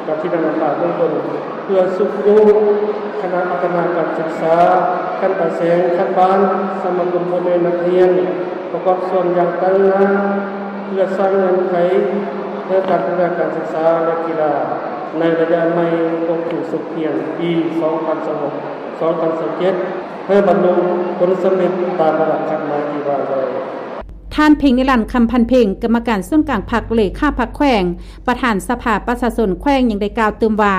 ການຄິດອ່ານອ່ານເບື້ອງຕົ້ນ ເພື່ອຊຸກຍູ້ຄະນະພັດທະນາການສຶກສາຂັ້ນປາຍແສງ, ຂັ້ນບ້ານ, ສະມາຄົມພໍ່ແມ່ນັກຮຽນ ປະກອບສ່ວນຢ່າງຕັ້ງໜ້າ ເພື່ອສ້າງເງື່ອນໄຂໃຫ້ການພັດທະນາການສຶກສາ ແລະ ກິລາໃນໄລຍະໃໝ່ຂອງປີສົກຮຽນປີສອງພັນຊາວຫົກ ສອງພັນຊາວເຈັດ ໃຫ້ບັນລຸຜົນສຳເລັດຕາມລະດັບຄາດໝາຍທີ່ວາງໄວ້. ທ່ານ ເພັງນິລັນ ຄຳພັນເພັງ ກຳມະການສູນກາງພັກ ເລຂາພັກແຂວງ ປະທານສະພາປະຊາຊົນແຂວງ ຍັງໄດ້ກ່າວຕື່ມວ່າ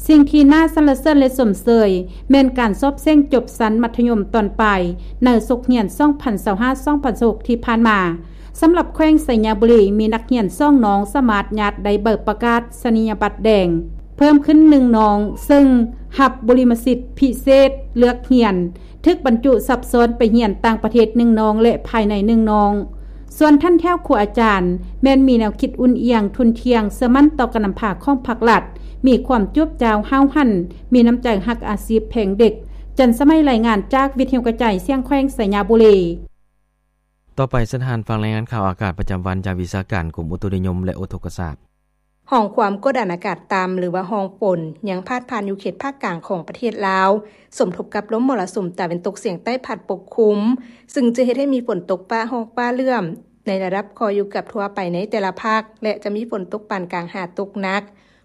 ສິ່ງທີ່ໜ້າສັນລະເສີນ ແລະ ຊົມເຊີຍ ແມ່ນການສອບເສັງຈົບຊັ້ນມັດທະຍົມຕອນປາຍ ໃນສົກຮຽນສອງພັນຊາວຫ້າ ສອງພັນຊາວຫົກ ທີ່ຜ່ານມາ. ສຳລັບແຂວງໄຊຍະບູລີ ມີນັກຮຽນສອງນ້ອງສາມາດຍາດໄດ້ໃບປະກາສະນີຍະບັດແດງເພີ່ມຂຶ້ນໜຶ່ງນ້ອງ, ເຊິ່ງຮັບບຸລິມະສິດພິເສດເລືອກຮຽນ, ຖືກບັນຈຸຊັບຊ້ອນໄປຮຽນຕ່າງປະເທດໜຶ່ງນ້ອງ ແລະ ພາຍໃນໜຶ່ງນ້ອງ. ສ່ວນຖັນແຖວຄູອາຈານ ແມ່ນມີແນວຄິດອຸ່ນອຽງ, ທຸ່ນທ່ຽງ, ເຊື່ອໝັ້ນຕໍ່ການນຳພາຂອງພັກລັດ, ມີຄວາມຈວບຈ້າວຫ້າວຫັນ, ມີນ້ຳໃຈຮັກອາຊີບແພງເດັກ. ຈັນສະໄໝ ລາຍງານຈາກວິທະຍຸກະຈາຍສຽງແຂວງໄຊຍະບູລີ. ຕໍ່ໄປ ເຊີນທ່ານຟັງລາຍງານຂ່າວອາກາດປະຈຳວັນຈາກວິຊາການກົມອຸຕຸນິຍົມ ແລະ ອຸທົກກະສາດ. ຮ່ອງຄວາມກົດອານອາກາດຕ່ຳ ຫຼືວ່າຮ່ອງຝົນ ຍັງພາດຜ່ານຢູ່ເຂດພາກກາງຂອງປະເທດລາວ, ສົມທົບກັບລົມມໍລະສຸມຕາເວັນຕົກສຽງໃຕ້ພັດປົກຄຸມ, ຊຶ່ງຈະເຮັດໃຫ້ມີຝົນຕົກຟ້າຮ້ອງຟ້າເຫຼື້ອມໃນລະດັບຄ່ອຍຢູ່ເກືອບທົ່ວໄປໃນແຕ່ລະພາກ ແລະ ຈະມີຝົນຕົກປານກາງຫາຕົກໜັກ,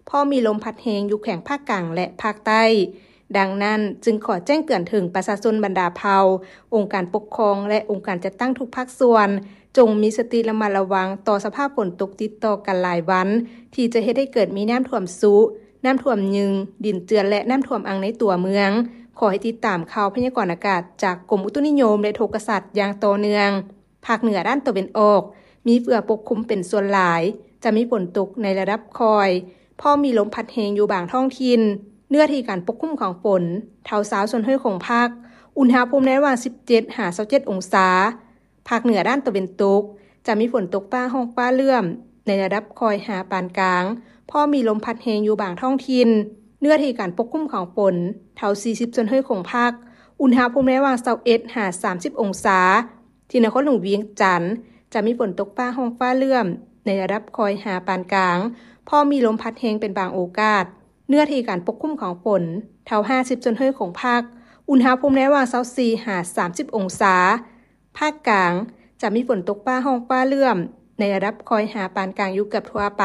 ພໍມີລົມພັດແຮງຢູ່ແຂວງພາກກາງ ແລະ ພາກໃຕ້. ດັ່ງນັ້ນ, ຈຶ່ງຂໍແຈ້ງເຕືອນເຖິງປະຊາຊົນບັນດາເຜົ່າ, ອົງການປົກຄອງ ແລະ ອົງການຈັດຕັ້ງທຸກພາກສ່ວນ, ຈົ່ງມີສະຕິລະມັດລະວັງຕໍ່ສະພາບຝົນຕົກຕິດຕໍ່ກັນຫຼາຍວັນ, ທີ່ຈະເຮັດໃຫ້ເກີດມີນ້ຳຖ້ວມຊຸ, ນ້ຳຖ້ວມຍືງ, ດິນເຈື່ອນ ແລະ ນ້ຳຖ້ວມອັ່ງໃນຕົວເມືອງ. ຂໍໃຫ້ຕິດຕາມຂ່າວພະຍາກອນອາກາດຈາກກົມອຸຕຸນິຍົມ ແລະ ອຸທົກກະສາດຢ່າງຕໍ່ເນື່ອງ. ພາກເໜືອດ້ານຕາເວັນອອກ ມີເຝືອປົກຄຸມເປັນສ່ວນຫຼາຍ, ຈະມີຝົນຕົກໃນລະດັບຄ່ອຍ, ພໍມີລົມພັດແຮງຢູ່ບາງທ້ອງຖິ່ນ. ເນື້ອທີ່ການປົກຄຸມຂອງຝົນ ເທົ່າຊາວສ່ວນຮ້ອຍຂອງພາກ, ອຸນຫະພູມໃນລະຫວ່າງສິບເຈັດຫາຊາວເຈັດອົງສາ. ພາກເໜືອດ້ານຕາເວັນຕົກ ຈະມີຝົນຕົກຟ້າຮ້ອງຟ້າເຫຼື້ອມໃນລະດັບຄ່ອຍຫາປານກາງ, ພໍມີລົມພັດແຮງຢູ່ບາງທ້ອງຖິ່ນ. ເນື້ອທີ່ການປົກຄຸມຂອງຝົນ ເທົ່າສີ່ສິບສ່ວນຮ້ອຍຂອງພາກ, ອຸນຫະພູມໃນລະຫວ່າງຊາວເອັດຫາສາມສິບອົງສາ. ທີ່ນະຄອນຫຼວງວຽງຈັນ ຈະມີຝົນຕົກຟ້າຮ້ອງຟ້າເຫຼື້ອມໃນລະດັບຄ່ອຍຫາປານກາງ, ພໍມີລົມພັດແຮງເປັນບາງໂອກາດ. ເນື້ອທີ່ການປົກຄຸມຂອງຝົນ ເທົ່າຫ້າສິບສ່ວນຮ້ອຍຂອງພາກ, ອຸນຫະພູມໃນລະຫວ່າງຊາວສີ່ຫາສາມສິບອົງສາ. ພາກກາງ ຈະມີຝົນຕົກຟ້າຮ້ອງຟ້າເຫຼື້ອມໃນລະດັບຄ່ອຍຫາປານກາງຢູ່ເກືອບທົ່ວໄປ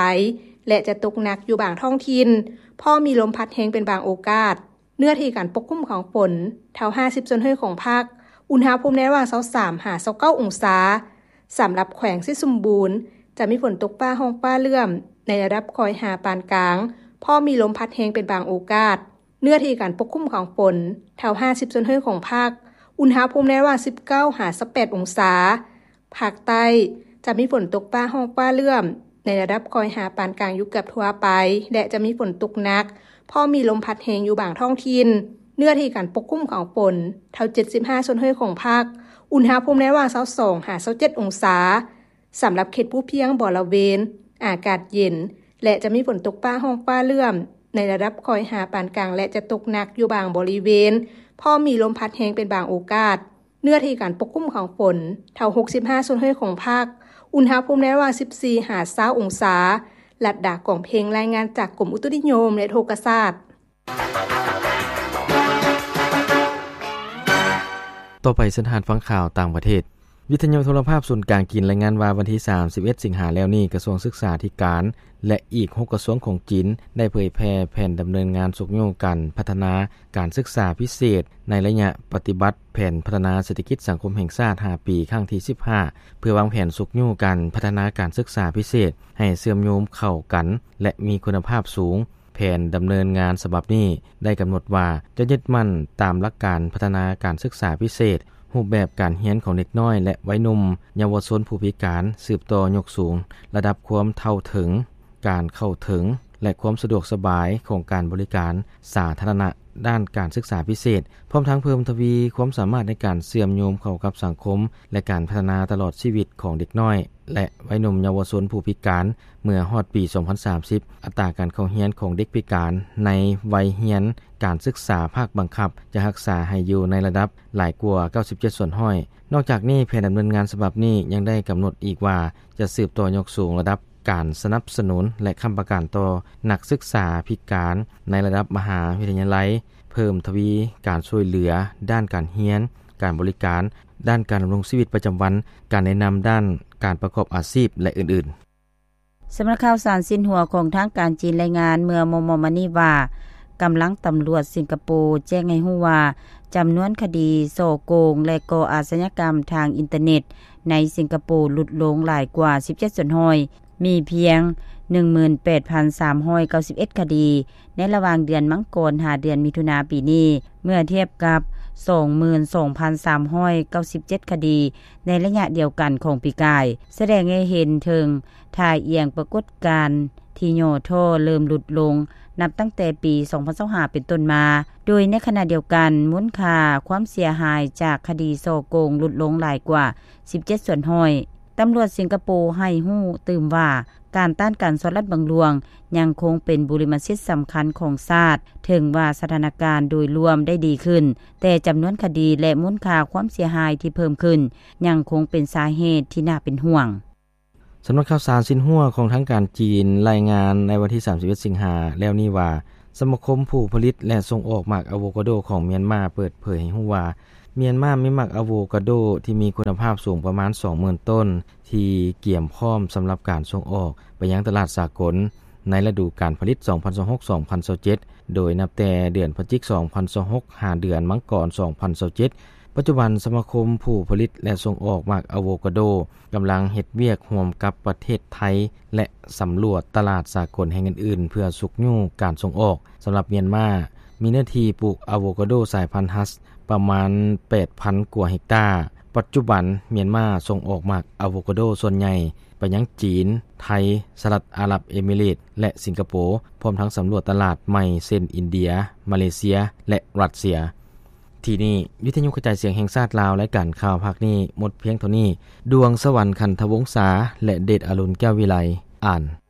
ແລະ ຈະຕົກໜັກຢູ່ບາງທ້ອງຖິ່ນ, ພໍມີລົມພັດແຮງເປັນບາງໂອກາດ. ເນື້ອທີ່ການປົກຄຸມຂອງຝົນ ເທົ່າຫ້າສິບສ່ວນຮ້ອຍຂອງພາກ, ອຸນຫະພູມໃນລະຫວ່າງຊາວສາມຫາຊາວເກົ້າອົງສາ. ສຳລັບແຂວງໄຊສົມບູນ ຈະມີຝົນຕົກຟ້າຮ້ອງຟ້າເຫຼື້ອມໃນລະດັບຄ່ອຍຫາປານກາງ, ພໍມີລົມພັດແຮງເປັນບາງໂອກາດ. ເນື້ອທີ່ການປົກຄຸມຂອງຝົນ ເທົ່າຫ້າສິບສ່ວນຮ້ອຍຂອງພາກ, ອຸນຫະພູມໃນລະຫວ່າງສິບເກົ້າຫາຊາວແປດອົງສາ. ພາກໃຕ້ ຈະມີຝົນຕົກຟ້າຮ້ອງຟ້າເຫຼື້ອມໃນລະດັບຄ່ອຍຫາປານກາງຢູ່ເກືອບທົ່ວໄປ ແລະ ຈະມີຝົນຕົກໜັກ, ພໍມີລົມພັດແຮງຢູ່ບາງທ້ອງຖິ່ນ. ເນື້ອທີ່ການປົກຄຸມຂອງຝົນ ເທົ່າເຈັດສິບຫ້າສ່ວນຮ້ອຍຂອງພາກ, ອຸນຫະພູມໃນລະຫວ່າງຊາວສອງຫາຊາວເຈັດອົງສາ. ສຳລັບເຂດພູພຽງບໍລະເວນ ອາກາດເຢັນ ແລະ ຈະມີຝົນຕົກຟ້າຮ້ອງຟ້າເຫຼື້ອມ ໃນລະດັບຄ່ອຍຫາປານກາງ ແລະ ຈະຕົກໜັກຢູ່ບາງບໍລິເວນ, ພ້ອມມີລົມພັດແຮງເປັນບາງໂອກາດ. ເນື້ອທີ່ການປົກຄຸມຂອງຝົນ ເທົ່າຫົກສິບຫ້າສ່ວນຮ້ອຍຂອງພາກ, ອຸນຫະພູມໃນລະຫວ່າງສິບສີ່ຫາຊາວອົງສາ. ລັດດາ ກອງເພັງ ລາຍງານຈາກກົມອຸຕຸນິຍົມ ແລະ ອຸທົກກະສາດ. ຕໍ່ໄປເຊີນທ່ານຟັງຂ່າວຕ່າງປະເທດ. ວິທະຍຸໂທລະພາບສູນກາງຈີນລາຍງານວ່າ ວັນທີສາມສິບເອັດສິງຫາແລ້ວນີ້ ກະຊວງສຶກສາທິການ ແລະ ອີກຫົກກະຊວງຂອງຈີນ ໄດ້ເຜີຍແຜ່ແຜນດຳເນີນງານຊຸກຍູ້ການພັດທະນາການສຶກສາພິເສດ ໃນໄລຍະປະຕິບັດແຜນພັດທະນາເສດຖະກິດສັງຄົມແຫ່ງຊາດຫ້າປີ ຄັ້ງທີສິບຫ້າ ເພື່ອວາງແຜນຊຸກຍູ້ການພັດທະນາການສຶກສາພິເສດ ໃຫ້ເຊື່ອມໂຍງເຂົ້າກັນ ແລະ ມີຄຸນນະພາບສູງ. ແຜນດຳເນີນງານສະບັບນີ້ໄດ້ກຳນົດວ່າ ຈະຍຶດໝັ້ນຕາມຫຼັກການພັດທະນາການສຶກສາພິເສດ, ຮູບແບບການຮຽນຂອງເດັກນ້ອຍ ແລະ ໄວໜຸ່ມເຍົາວະຊົນຜູ້ພິການ, ສືບຕໍ່ຍົກສູງລະດັບຄວາມເທົ່າເຖິງ, ການເຂົ້າເຖິງ ແລະ ຄວາມສະດວກສະບາຍຂອງການບໍລິການສາທາລະນະດ້ານການສຶກສາພິເສດ, ພ້ອມທັງເພີ່ມທະວີຄວາມສາມາດໃນການເຊື່ອມໂຍງເຂົ້າກັບສັງຄົມ ແລະ ການພັດທະນາຕະຫຼອດຊີວິດຂອງເດັກນ້ອຍ ແລະ ໄວໜຸ່ມເຍົາວະຊົນຜູ້ພິການ. ເມື່ອຮອດປີສອງພັນສາມສິບ ອັດຕາການເຂົ້າຮຽນຂອງເດັກພິການໃນໄວຮຽນການສຶກສາພາກບັງຄັບ ຈະຮັກສາໃຫ້ຢູ່ໃນລະດັບຫຼາຍກວ່າເກົ້າສິບເຈັດສ່ວນຮ້ອຍ. ນອກຈາກນີ້, ແຜນດຳເນີນງານສະບັບນີ້ຍັງໄດ້ກຳນົດອີກວ່າ ຈະສືບຕໍ່ຍົກສູງລະດັບການສະໜັບສະໜູນ ແລະ ຄ້ຳປະກັນຕໍ່ນັກສຶກສາພິການໃນລະດັບມະຫາວິທະຍາໄລ, ເພີ່ມທະວີການຊ່ວຍເຫຼືອດ້ານການຮຽນ, ການບໍລິການ, ດ້ານການດຳລົງຊີວິດປະຈຳວັນ, ການແນະນຳດ້ານການປະກອບອາຊີບ ແລະ ອື່ນໆ. ສຳນັກຂ່າວສານຊິນຫົວຂອງທາງການຈີນລາຍງານເມື່ອມໍ່ໆມານີ້ວ່າ ກຳລັງຕຳຫຼວດສິງກະໂປແຈ້ງໃຫ້ຮູ້ວ່າ ຈຳນວນຄະດີສໍ້ໂກງ ແລະ ກໍ່ອາຊະຍາກຳທາງອິນເຕີເນັດໃນສິງກະໂປຫຼຸດລົງຫຼາຍກວ່າສິບເຈັດສ່ວນຮ້ອຍ, ມີພຽງໜຶ່ງໝື່ນແປດພັນສາມຮ້ອຍເກົ້າສິບເອັດຄະດີ ໃນລະຫວ່າງເດືອນມັງກອນຫາເດືອນມິຖຸນາປີນີ້ ເມື່ອທຽບກັບສອງໝື່ນສອງພັນສາມຮ້ອຍເກົ້າສິບເຈັດຄະດີໃນໄລຍະດຽວກັນຂອງປີກາຍ, ສະແດງໃຫ້ເຫັນເຖິງທ່າອ່ຽງປາກົດການທີ່ຫຍໍ້ທໍ້ເລີ່ມຫຼຸດລົງ ນັບຕັ້ງແຕ່ປີສອງພັນຊາວຫ້າເປັນຕົ້ນມາ, ໂດຍໃນຂະນະດຽວກັນ ມູນຄ່າຄວາມເສຍຫາຍຈາກຄະດີສໍ້ໂກງຫຼຸດລົງຫຼາຍກວ່າສິບເຈັດສ່ວນຮ້ອຍ. ຕຳຫຼວດສິງກະໂປໃຫ້ຮູ້ຕື່ມວ່າ ການຕ້ານການສໍ້ລັດບັງຫຼວງຍັງຄົງເປັນບຸລິມະສິດສຳຄັນຂອງຊາດ, ເຖິງວ່າສະຖານະການໂດຍລວມໄດ້ດີຂຶ້ນ, ແຕ່ຈຳນວນຄະດີ ແລະ ມູນຄ່າຄວາມເສຍຫາຍທີ່ເພີ່ມຂຶ້ນຍັງຄົງເປັນສາເຫດທີ່ໜ້າເປັນຫ່ວງ. ສຳນັກຂ່າວສານຊິນຫົວຂອງທາງການຈີນລາຍງານໃນວັນທີສາມສິບເອັດສິງຫາແລ້ວນີ້ວ່າ ສະມາຄົມຜູ້ຜະລິດ ແລະ ສົ່ງອອກໝາກອາໂວກາໂດຂອງມຽນມາເປີດເຜີຍໃຫ້ຮູ້ວ່າ ມຽນມາມີໝາກອາໂວກາໂດທີ່ມີຄຸນນະພາບສູງປະມານສອງໝື່ນຕົ້ນ ທີ່ກຽມພ້ອມສຳລັບການສົ່ງອອກໄປຍັງຕະຫຼາດສາກົນໃນລະດູການຜະລິດສອງພັນຊາວຫົກ ສອງພັນຊາວເຈັດ ໂດຍນັບແຕ່ເດືອນພະຈິກສອງພັນຊາວຫົກ ຫາເດືອນມັງກອນສອງພັນຊາວເຈັດ. ປັດຈຸບັນ ສະມາຄົມຜູ້ຜະລິດ ແລະ ສົ່ງອອກໝາກອາໂວກາໂດ ກຳລັງເຮັດວຽກຮ່ວມກັບປະເທດໄທ ແລະ ສຳຫຼວດຕະຫຼາດສາກົນແຫ່ງອື່ນໆ ເພື່ອຊຸກຍູ້ການສົ່ງອອກ. ສຳລັບມຽນມາ ມີເນື້ອທີ່ປູກອາໂວກາໂດສາຍພັນຮັສປະມານແປດພັນກວ່າເຮັກຕາ. ປັດຈຸບັນ ມຽນມາສົ່ງອອກໝາກອາໂວກາໂດສ່ວນໃຫຍ່ໄປຍັງຈີນ, ໄທ, ສະຫະລັດອາຣັບເອມິເຣດ ແລະ ສິງກະໂປ, ພ້ອມທັງສຳຫຼວດຕະຫຼາດໃໝ່ເຊັ່ນ ອິນເດຍ, ມາເລເຊຍ ແລະ ຣັດເຊຍ. ທີ່ນີ້ ວິທະຍຸກະຈາຍສຽງແຫ່ງຊາດລາວ, ລາຍການຂ່າວພາກນີ້ໝົດພຽງເທົ່ານີ້. ດວງສະຫວັນ ຂັນທະວົງສາ ແລະ ເດດອາລຸນ ແກ້ວວິໄລ ອ່ານ.